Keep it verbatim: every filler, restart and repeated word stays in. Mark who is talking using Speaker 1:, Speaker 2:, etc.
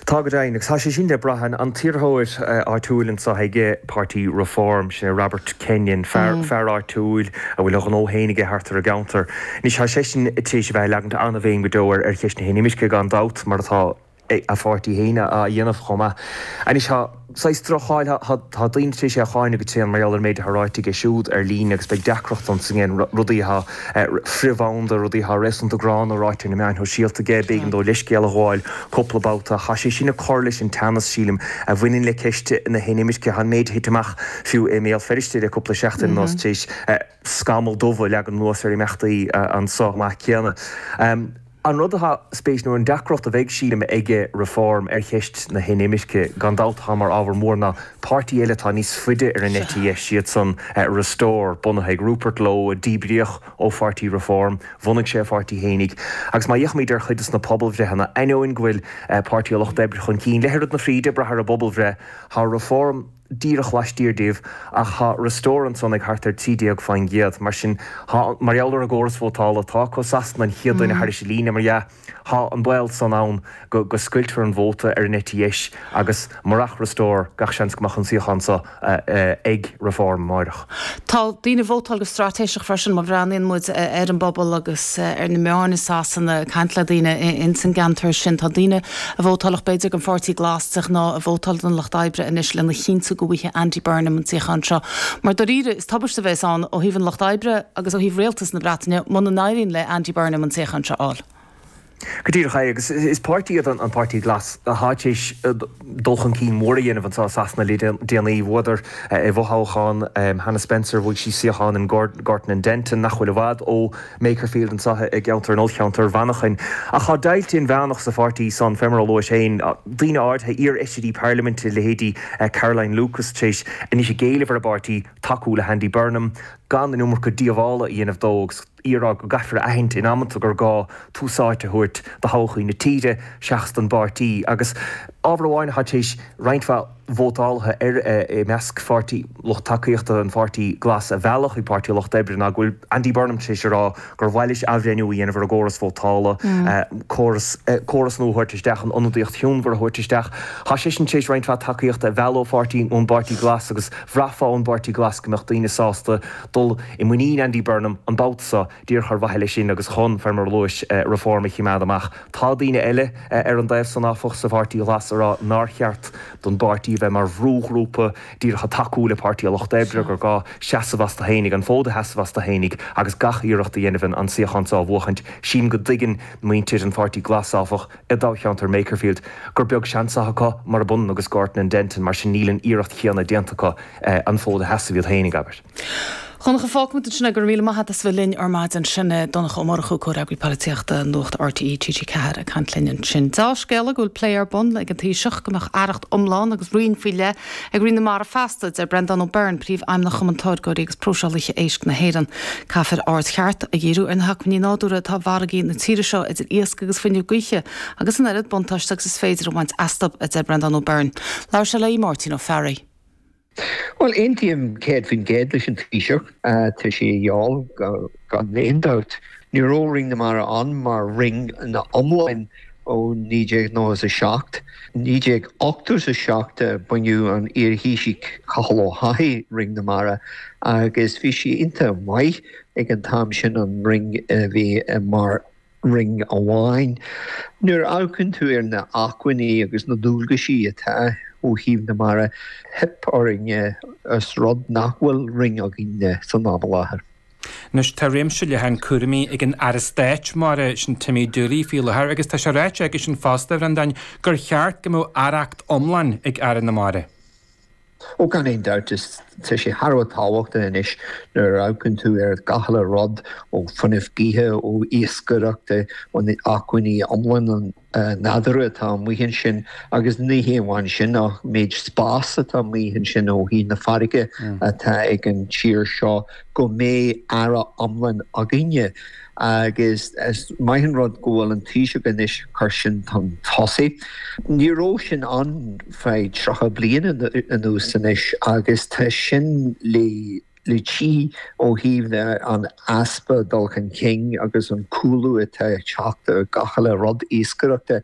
Speaker 1: Tá go deimhin, agus tá sé sin le brath. An t-iarrthóir áitiúil anseo ag Páirtí Reform, sin Robert Kenyon, fear fear áitiúil a bhfuil a ghnó féin aige thart ar an gceantar. Anois tá seisean tar éis a bheith ag leagaint an-bhéim go deo ar ar cheist na hinimirce gan dabht mar atá a pháirtí féin á dhéanamh chomh maith. Anois tá saghas droch-cháil, tá daoine tar éis é a cháineadh go tréan mar gheall ar an méid atá ráite aige siúd ar líne agus beidh deacracht ansin rudaí atá frithbhanda, rudaí atá réasúnta gránna ráite ar na meáin shóisialta aige, b'éigean dó leithscéal a ghabháil cúpla babhta. Tá sé sin ag cur leis an teannas, sílim, a bhaineann le ceist na hinimirce. Tá an méid a thit amach fiú i mBéal Feirste le cúpla seachtain anuas tar éis scamall dubh a leagan anuas ar imeachtaí anseo chomh maith céanna. An rud atá spéis nó an deacracht a bheidh, sílim, ag Reform ar cheist na hinimirce, gan dabht atá mar ábhar mór, ná páirtí eile atá níos faide ar an eite dheis, siadsan Restore, bunaithe ag Rupert Lowe, a díbríodh ó pháirtí Reform, bhunaigh sé a pháirtí fhéinig. Agus má fhéachaimid ar chuid de na pobalbhreitheanna, ainneoin go bhfuil Páirtí an Lucht Oibre chun cinn le hoiread na fríde, ag brath ar an bpobalbhreith, tá Reform díreach laistiar díobh, ach tá Restore ansan ag thart ar trí déag faoin gcéad. Mar sin, tá, mar gheall ar an gcóras vótála atá acu i Sasana, an chéad duine thairis an líne, mar dhea, tá an baol san ann go go scoiltfear an vóta ar an eite dheis agus murach Restore, gach seans go mbeadh an suíochán seo ag Reform amáireach.
Speaker 2: Tá daoine ag vótáil go straitéiseach freisin, má bhreathnaíonn muid ar an bpobal agus ar na meáin i Sasana, ag caint le daoine ins an gceantar sin, tá daoine a vótálfadh b'fhéidir don Pháirtí Glas de ghnáth ag vótáil don Lucht Oibre anois lena chinntiú go bhfaighidh Andy Burnham an suíochán seo. Mar dáiríre, is tubaiste a bheas ann ó thaobh an Lucht Oibre agus ó thaobh rialtas na Breataine muna n-éiríonn le Andy Burnham an suíochán seo a fháil.
Speaker 1: Go díreach é, agus is páirtí iad an Páirtí Glas atá tar éis dul chun cinn mór a dhéanamh anseo i Sasana le déanaí. Bhuadar i bhfothoghchán Hannah Spencer, bhuaigh sí suíochán in Gorton and Denton, nach bhfuil i bhfad ó Makerfield anseo i gceantar an ollcheantar Mhanchain. Ach tá deighilt inmheánach sa pháirtí san, fé mar a luais féin, daoine áirithe, iar-fheisirí parlaiminte, leithéidí Caroline Lucas, tar éis anois ag éileamh ar a bpáirtí tacú le hAndy Burnham, gan an iomarca díobhála a dhéanamh dó agus í ag rá go gcaithfear a aithint in amanta gur gá tús áite a thabhairt do thodhchaí na tíre seachas don bpáirtí. Agus ábhar amháin atá tar éis roinnt mhaith vótálaithe ar i measc pháirtí lucht tacaíochta an Pháirtí Glas a mhealladh chuig Páirtí an Lucht Oibre ná go bhfuil Andy Burnham tar éis a rá gur mhaith leis athbhreithniú a dhéanamh ar an gcóras vótála, córas córas nua a thabhairt isteach, an ionadaíocht chionmhar a thabhairt isteach. Tá seisean tar éis roinnt mhaith tacaíochta a mhealladh ó pháirtí ón bPáirtí Glas agus bhraithfeá ón bPáirtí Glas go mbeadh daoine sásta dul i muinín Andy Burnham an babhta seo díreach ar mhaithe leis sin agus chun, fé mar a luais, Reform a chimeád amach. Tá daoine eile ar an dtaobh san, áfach, sa Pháirtí Ghlas a rá nár cheart don bpáirtí a bheith mar bhrúghrúpa díreach ag tacú le Páirtí an Lucht Oibre, gur gá seasamh astu fhéinig, an fód a sheasamh astu fhéinig agus gach iarracht a dhéanamh an suíochán seo a bhuachaint. Sílim go dtuigeann muintir an Pháirtí Glas, áfach, i dtoghcheantar Makerfield gur beag seans atá acu, murab ionann agus Gorton and Denton, mar sin níl an iarracht chéanna déanta acu an fód a sheasamh iad féinig, abair.
Speaker 2: Dhonncha, fágfaimid ansin é, go raibh míle maith agat as bheith linn ar maidin. Sin é Donncha Ó Murchú, Comhfhreagraí Polaitíochta Nuacht RTÉ T G ceathair ag caint linn ansin. Deá-scéala go bhfuil plé ar bun ag an Taoiseach go mbeadh aireacht iomlán agus roinn faoi leith ag Roinn na Mara feasta, deir Breandán Ó Beirn, Príomhfheidhmeannach Chumann Táirgeoirí agus Próiseálaithe Éisc na hÉireann. Caithfear aird cheart a dhíriú ar na hacmhainní nádúrtha atá i bhfarraigí na tíre seo idir iasc agus fuinneamh gaoithe agus an oiread buntáiste agus is féidir a bhaint astu, a deir Breandán Ó Beirn. Labhair sé le Máirtín Ó Fearraigh.
Speaker 3: Bhuel, aontaím céad faoin gcéad leis an Taoiseach. Tá sé a dhíobháil gan aon dabht. Ní raibh Roinn na Mara ann mar roinn ina iomláin ó naoi déag nócha is a seacht. naoi déag ochtó is a seacht a bhunaigh an iar-Thaoiseach Cathal Ó hEochaidh Roinn na Mara agus bhí sé iontach maith ag an t-am sin an roinn a bhí mar roinn amháin. Nuair a amharcann tú ar na acmhainní agus na dualgaisí atá ó thaobh na mara, theip orainn os rud nach bhfuil roinn againn san am i láthair.
Speaker 4: Anois tá réimse leathan cúraimí ag an Aire Stáit Mara, sin Timmy Dooley, faoi láthair agus tá sé ráite aigesean fosta, a Bhreandáin, gur cheart go mbeadh aireacht iomlán ag Aire na Mara.
Speaker 3: Ó gan aon dabht is tá sé thar a bheith tábhachtach anois nuair a amharcann tú ar gach uile rud ó fuinneamh gaoithe, ó iascaireacht, ó na acmhainní iomlán nádúrtha atá amuigh ansin agus ní hé amháin sin ach méid spás atá amuigh ansin ó thaobh na farraige atá ag an tír seo go mbeidh aire iomlán againne. Agus is maith an rud go bhfuil an Taoiseach anois ag cur sin chun tosaigh. Ní raibh sin ann feadh tríocha bliain anuas anois agus tá sin le le tchí ó thaobh an easpa dul chun cinn agus an cúlú atá ag teacht ar gach uile rud iascaireachta.